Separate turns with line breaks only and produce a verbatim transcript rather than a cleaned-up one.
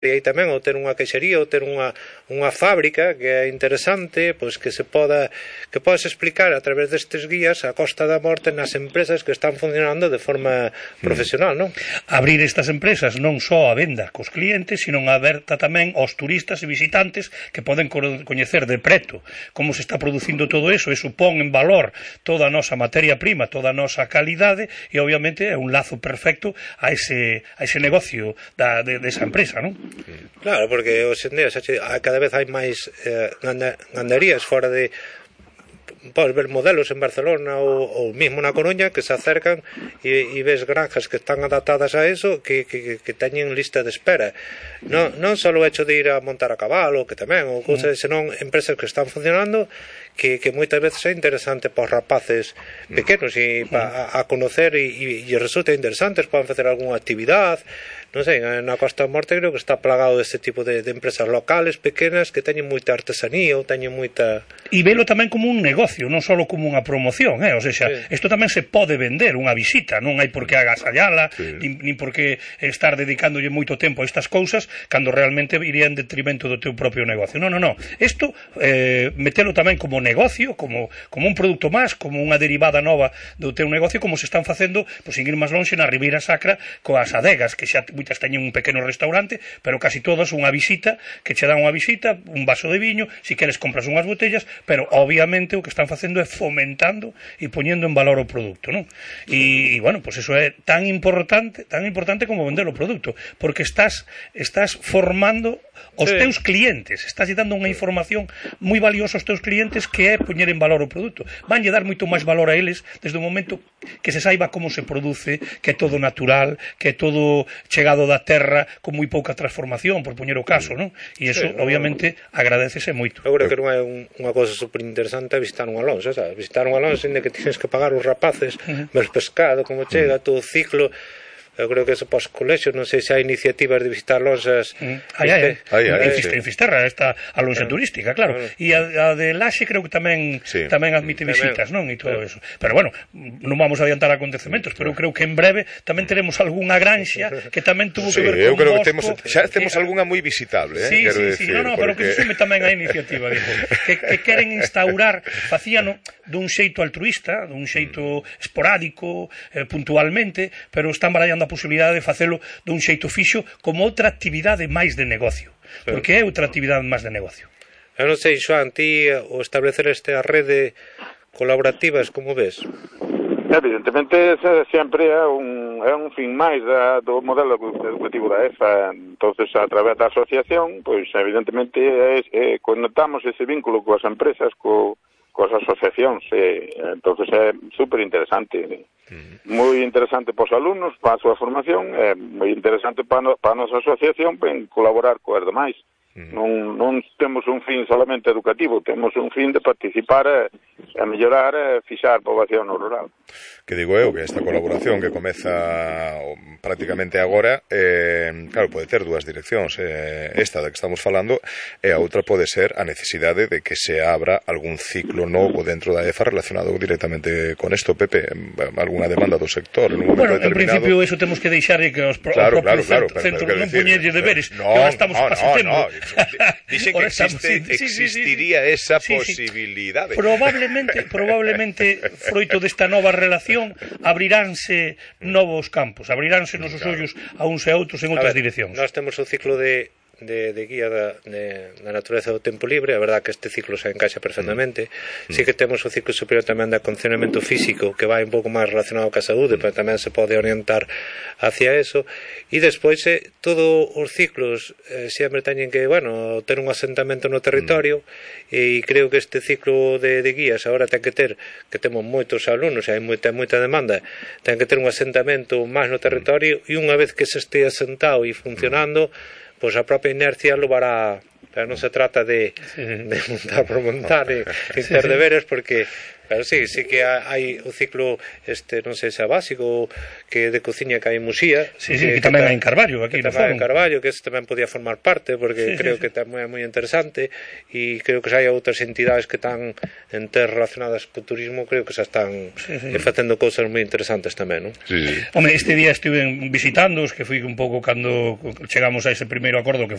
e aí tamén ou ter unha queixería ou ter unha, unha fábrica que é interesante, pois que se poda que podes explicar a través destes guías a costa da morte nas empresas que están funcionando de forma profesional, non?
Abrir estas empresas non só a venda cos clientes, sino aberta tamén aos turistas e visitantes que poden coñecer de preto como se está producindo todo eso e supón en valor toda a nosa materia prima, toda a nosa calidade e obviamente é un lazo perfecto a ese, a ese negocio da, de, de esa empresa, non?
Claro, porque hoxe en día cada vez hai máis eh, ganderías fora de... Podes ver modelos en Barcelona ou, ou mismo na Coruña que se acercan e, e ves granjas que están adaptadas a eso que, que, que teñen lista de espera. Non, non só o hecho de ir a montar a cabalo, que tamén, ou cousas, senón empresas que están funcionando que, que moitas veces é interesante para os rapaces pequenos e pa, a, a conocer e, e, e resulta interesante, poden facer algunha actividade. Non sei, na Costa da Morte creo que está plagado deste tipo de, de empresas locales, pequenas, que teñen moita artesanía ou teñen moita...
E velo tamén como un negocio, non só como unha promoción, eh? O sea, sí. Isto tamén se pode vender, unha visita, non hai por que agasallala, sí. nin, nin por que estar dedicándolle moito tempo a estas cousas, cando realmente iría en detrimento do teu propio negocio. Non, non, non. Isto, eh, metelo tamén como negocio, como, como un produto máis, como unha derivada nova do teu negocio, como se están facendo, pois, sin ir máis longe, na Ribeira Sacra, coas adegas, que xa moitas teñen un pequeno restaurante, pero casi todas unha visita, que che dan unha visita, un vaso de viño, si queres compras unhas botellas, pero obviamente o que están facendo é fomentando e poñendo en valor o produto, non? E, e bueno, pois pues eso é tan importante, tan importante como vender o produto, porque estás estás formando os sí. teus clientes, estás dando unha información moi valiosa aos teus clientes que é poñer en valor o produto. Vanlle dar moito máis valor a eles desde o momento que se saiba como se produce, que é todo natural, que é todo chegado da terra con moi pouca transformación, por poñer o caso, non? E iso, sí, obviamente, agradecese moito.
Eu creo que non é un, unha cosa super interesante visitar un alonso, sabes? Visitar un alonso onde que tienes que pagar os rapaces, uh -huh. ver pescado, como chega, uh -huh. todo o ciclo. Eu creo que eso pos colexios, non sei se hai iniciativas de visitar lonxas.
Hai, hai, hai. En Fisterra está a lonxa turística, claro. E a de Laxe creo que tamén tamén admite visitas, non? E todo eso. Pero bueno, non vamos a adiantar acontecementos, pero eu creo que en breve tamén teremos algunha granxa que tamén tuvo que ver con
eu creo que temos xa temos algunha moi visitable, eh,
quero dicir. Sí, sí, no, no, pero que sume tamén a iniciativa, digo, que que queren instaurar, facíano dun xeito altruista, dun xeito esporádico, puntualmente, pero están barallando a posibilidade de facelo dun xeito fixo como outra actividade máis de negocio, porque é outra actividade máis de negocio.
Eu non sei, Xoan, ti o establecer esta rede colaborativas, como ves?
Evidentemente, sempre é un, é un fin máis da, do modelo educativo da E F A. Entonces, a través da asociación, pois, evidentemente, é, é, conectamos ese vínculo coas empresas, co coas asociacións, e, entonces é super interesante, moi interesante para os alumnos, para a súa formación, é moi interesante para, no, para a nosa asociación en colaborar coas demais. Mm. Non, non temos un fin solamente educativo, temos un fin de participar e, a mellorar e fixar a poboación no rural.
Que digo eu, que esta colaboración que comeza prácticamente agora, eh, claro, pode ter dúas direccións, eh, esta da que estamos falando e a outra pode ser a necesidade de que se abra algún ciclo novo dentro da E F A relacionado directamente con isto, Pepe, algunha demanda do sector en un momento
bueno,
determinado.
En principio eso temos que deixarle que os pro,
claro,
propios
claro, claro,
centros
pero,
non poñerlle deberes,
no,
que ahora estamos
no,
pasando.
No, no. Dixen que existe, sí, existiría sí, sí, sí. esa sí, posibilidade.
Sí. Probablemente, probablemente, froito desta nova relación, abriránse novos campos, abriránse nosos claro. ollos a uns e a outros en outras direccións.
Nós temos o ciclo de De, de guía da, de, da natureza do tempo libre, a verdad que este ciclo se encaixa perfectamente. Mm. Sí que temos o ciclo superior tamén de acondicionamento físico, que vai un pouco máis relacionado ca saúde, mm. pero tamén se pode orientar hacia eso. E despois eh, todos os ciclos eh, sempre teñen que, bueno, ter un asentamento no territorio, mm. e creo que este ciclo de, de guías agora ten que ter, que temos moitos alumnos, e hai moita, moita demanda, ten que ter un asentamento máis no territorio, e unha vez que se este asentado e funcionando, pois a propia inercia levará, pero non se trata de, de montar por montar e, e ter deberes, porque Pero sí, sí que hai o ciclo este, non sei se é básico, que de cociña que hai en Muxía.
Sí, sí, que, que tamén hai en Carballo, aquí
no
Forum.
En Carballo, que ese tamén podía formar parte, porque sí, creo sí, sí. que tamén é moi interesante, e creo que se hai outras entidades que están en ter relacionadas co turismo, creo que xa están sí, sí. facendo cousas moi interesantes tamén, non?
Sí, sí.
Home, este día estuve visitándoos, que fui un pouco cando chegamos a ese primeiro acordo que